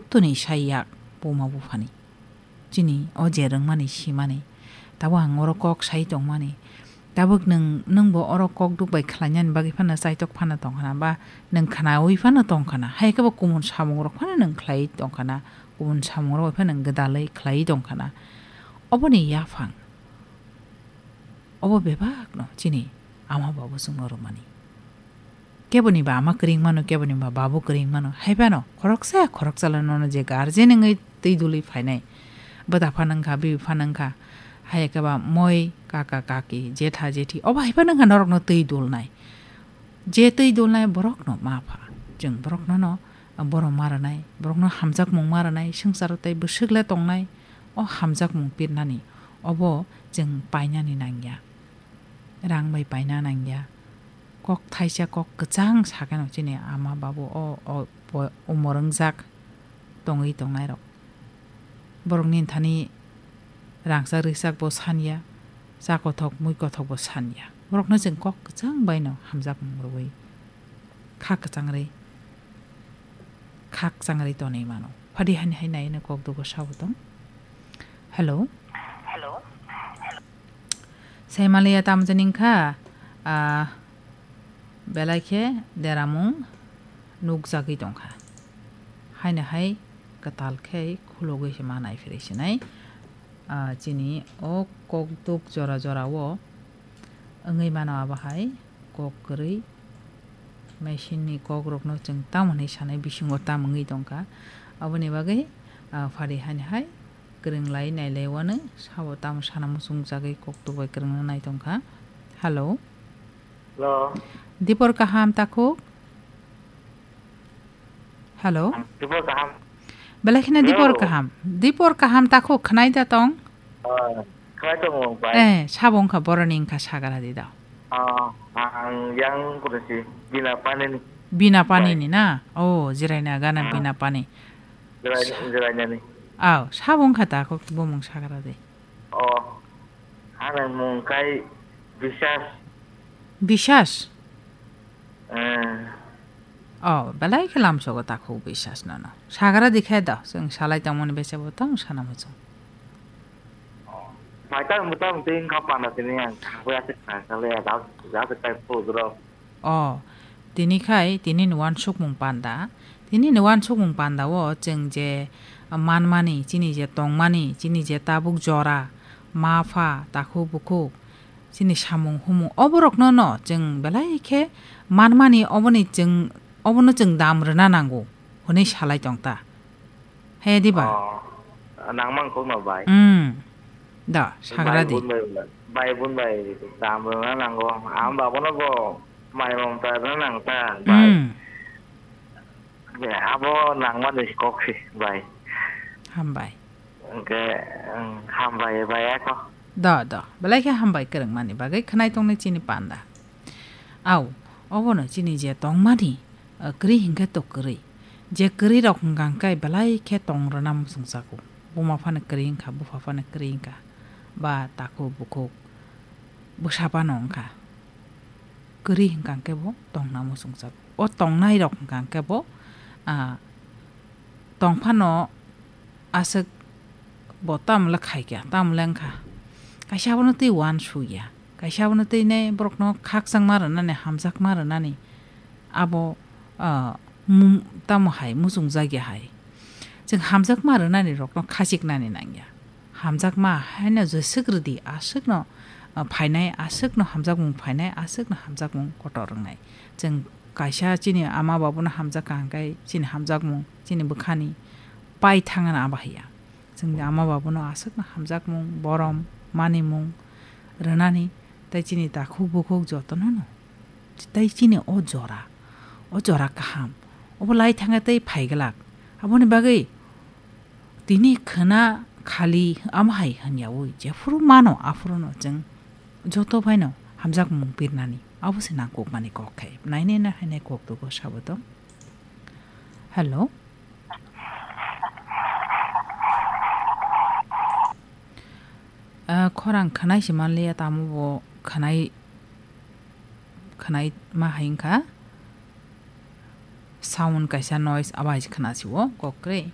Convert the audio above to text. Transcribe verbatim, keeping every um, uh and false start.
Toni sai yak buma buphani. Chini o je rwngmani simani. Tabuk ang oro kok sai tongmani. Tabuk nwng, nwngbo oro kok duk bai khlainani bagwi phano chaitok phano tongkhana ba nwng khnaui phano tongkhana. Hai khe bo kumun samungrok phano nwng khlaiwi tongkhana. Kumun samungrok bai phano nwng gwdalwi khlaiwi tongkhana. Oboni yaphang. Obo bebakno chini ama babu chwngno rwmani. Keboni ba ama kwrwng mano, keboni ba babu kwrwng mano. Hai phano khoroksa khoroksa le nono je guardian wngwi twi dulwi phainai. Bwda phano wngkha, bibi phano wngkha. Hai khe ba moi, kaka, kaki, jetha, jethi. Obo hai phano wngkha norokno twi dulnai. Je twi dulnai borokno ma pha. Chwng borokno no borom ma rwnai, borokno hamjakmung ma rwnai, swngcharo tei bwswk le tongnai. O hamjakmung pirnani, obo chwng painani nangya. Rang bai paina nangya. Kok thaisa kok kwchang sakeno chini ama babu o, o, bo-, umor wngjak tongwi tongnairok. Borokni thani rangchak rikchak bo sanya, cha kothok mui kothok bo sanya. Borokno chwng kok kwchang baino hamjakmung rwui kha kwchang rwi, kha kwchang rwi tonwi mano. Phadi hani hai nai no kok dugo sabo tong. Hello. Hello. Sai maliya tamjani wngkha, ah, belai khe deramung nukjagwi tongkha. Haino hai kwtal khe khulugwi se ma nai phirwi sinai. Ah, chini o kokduk jora jora o wngwi mano abo hai kok kwrwi. Machine ni kok rokno chwng tamo hinwi sanai bisingo tamo wngwi tongkha. Aboni bagwi, ah, phari hani hai kwrwng lai nai lai wano sabo tamo sana muchung jagwi kok tubai kwrwngna nai tongkha. Hello. Hello. Dipor kaham takhuk? Hello. Dipor kaham. Belai kheno dipor Hello. kaham. Dipor kaham takhuk khwnai da tong? Ah, khwnai tongo, bai. Eh, sabo wngkha boroni wngkha sagra di da. Ah, ang yang kuda si Bina Pani ni. Bina Pani Bai. ni na? Oh, jiraina gana Ah. Bina Pani. Jirai-, Sa- jirainani. Aw, sabo wngkha takhuk bumung sagra di. Oh, ani mung kai Biswas. Biswas? Eh. Oh, belai khe lamsogo takhuk Biswas nono. Sagra di khe da, chwng salai tongmani bese bo tong sana muchung. Bai ta muta muti wngkha panda tini ang thangwi aswk kha kha le, da, da, da, da, da, da, da. O, tini khai, tini ni uansukmung panda. Tini ni uansukmung panda o chwng je manmani, chini je tongmani, chini je tabuk jora, ma pha, takhuk bukhuk, chini samung humung, oborokno no chwng belai khe manmani, oboni chwng, obono chwng dam rwna nango hwnwi salai tong ta. He diba? Oh, nangmang kokno bai. Hmm. Da, sagra di. Bai bun bai, bai bun bai, tam rwna nango. Ang babono bo mai mom ta rwna nang ta, bai. Hmm. Ya, abo nangmani kok si, bai. Hambai. Hwnkhe, ang hambai, bai ako. Da, da. Belai khe hambai kwrwngmani bagwi khwnai tongni chini panda. Au, obono chini je tongmani, ah, kwrwi hinkhe to kwrwi. Je kwrwi rok hwnkha hwnkhe belai khe tong rwna muchungjago. Buma phano kwrwi wngkha, bupha phano kwrwi wngkha. Ba takhuk bukhuk bwsa phano wngkha. Kwrwi hwnkha hwnkhe bo tongna muchungjago. O tongnai rok hwnkha hwnkhe bo, ah, tong phano aswk bo tamo le khai kha, tamo le wngkha. Kaisa abono tei uansuk ya. Kaisa abono tei ne borokno khakchangma rwnani, hamjakma rwnani. Abo, ah, mu-, tamo hai muchungjak ya hai. Chwng hamjakma rwnani rokno khachiknani nang ya. Hamjakma haino jeswk rwdi, aswkno, ah, phainai, aswkno hamjakmung phainai, aswkno hamjakmung kotor wngnai. Chwng kaisa chini ama babuno hamjak kha hwnkhe chini hamjakmung, chini bwkhani pai thangna abo hai ya. Chwngni ama babuno aswkno hamjakmung, borom, manimung rwnani tei chini takhuk bukhuk jotono no. Tei chini o jora, o jora kaham, obo lai thangkhe tei phai glak. Aboni bagwi tini khwna khali amo hai hwnyaui jephuru mano, aphuruno chwng joto phaino hamjakmung pirnani, abo se nangkukmani kok khe. Nainai na hainai kok dugo sabo tong. Hello. Ah, khorang khwnai se manliya, tamo bo khwnai, khwnai ma hai wngkha. Sound kaisa noise abai khwna si o kok kwrwi.